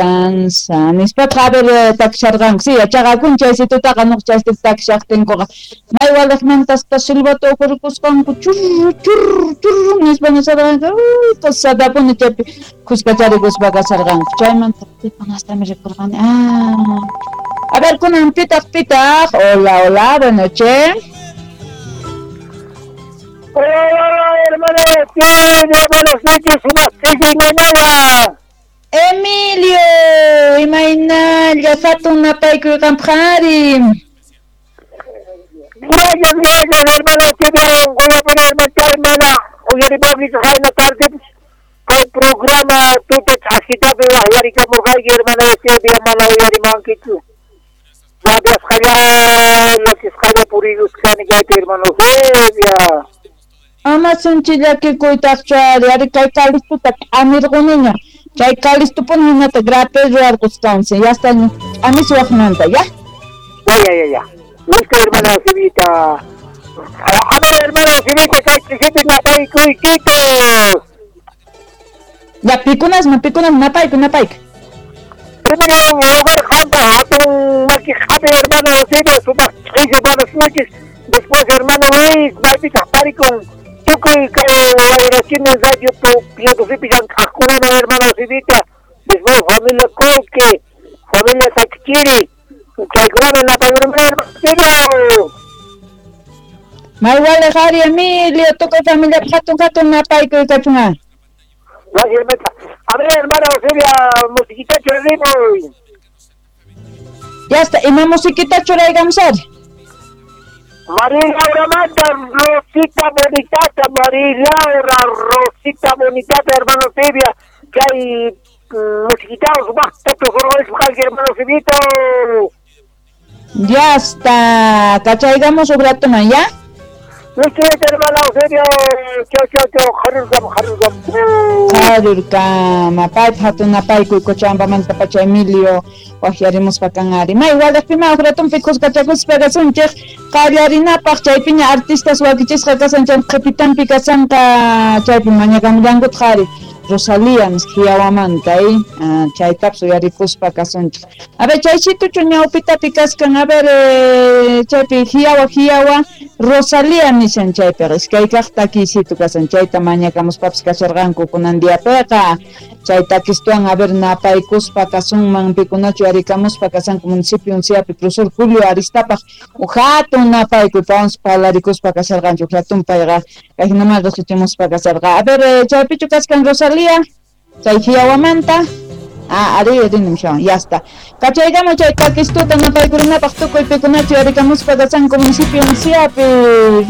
Esperanza nispaqa a ver takisharqanku si yachaqakun chaysitutaqa nuq chaysitu takishaqtinkuqa may waliqmantaspa silbato uqhurikusqanku churru churru churru nispa nisharqanku sadapuni chaypi khuskacharikuspa kasharqanku chaymanta pikunastami rikurqani a ver kunan pitaq pitaq hola hola buenas noches. Hola, hola, hermano, buenas noches, mañana. Emilio, imaynalla hatun napaykuy qampaq ari. Gracias, gracias, hermano, hermana, uyaripankichu qayna tardepis kay programa tuta ch'askitapi waqyarikamurqayki, hermana Eusebia, mana uyarimankichu. Rabiasqalla, llakisqalla purikusqani kaypi, hermano Eusebia. Ama sinchi llakikuytaqchu ari, ari kay kalistuta k'amirquniña. Chay kalistupuni hinata grape ruwarqusqansi, ya está k'amisuwaqmanta, ya? Ya, ya, ya, ya. Listo, hermana Eusebita. A ver, hermana Eusebita, kay ch'isipi napaykuykitos. Ya, pikunasman, pikunasman, napaykuy, napaykuy. Primero lugar, qampa hatun maki qhapi, hermano Eusebia, sumaq ch'isi, buenas noches. Después, hermano Luis, maypitaq tarikun tukuy kay Wayrachini radio Piotosipi llank'aqkunaman, hermano Eusebita. Después, familia Colque, familia Sachchiri, chaykunaman napaykurmi, hermano Eusebio. May waliq ari, Emilio, tukuy familia hatun hatun napaykuy kachun. Gracias, hermana. A ver, hermana Eusebia, musiquita churrimuy. Ya está, ima musiquita churaygamos ari. María Laura manda, Rosita Bonitata, María Laura, Rosita Bonitata, hermano Eusebia, que hay musiquita, hermano Eusebito. Ya está, cachaygamos un rato más, ¿ya? Listo, hermano Eusebio, chau, chau, chau, jarurkam, jarurkam. Jarurkam, paypa hatun napaykuy Cochabambamanta pacha Emilio, waqyarimuspa kan ari. May waliqpima uj ratonpi khuskachakuspa kasunchik, qallarinapaq chaypiña artistas wakichisqa kasan chay qhipitanpi kasanqa chaypi mañakamllankutaq ari. Rosalía Hiawamanta, chaytapas uyarikuspa kasunchik. A ver, chaysituchu ñawpitapi kaskan, a ver, chaypi Hiawa, Hiawa, Rosalía nishan chaypiqa, iskay kaq takiysitu kasan, chayta mañakamuspapas kasharqanku kunan diapiqa. Chay takistuwan, a ver, napaykuspa kasunman, pikunachu yarikamuspa kasanku municipio unciapi, profesor Julio Aristapaq, hatun napaykuy pawanpas parlarikuspa kasharqanchik, hatun payqa kayhinaman riqsichimuspa kasharqa. A ver, chaypichu kaskan Rosalía, chay Hiawamanta. Ah, ari, rinim shawan, ya está. Kachaygamo chay takistuta napaykurinapaq tukuy pikunachu yarikamuspa kasanku municipio unciapi.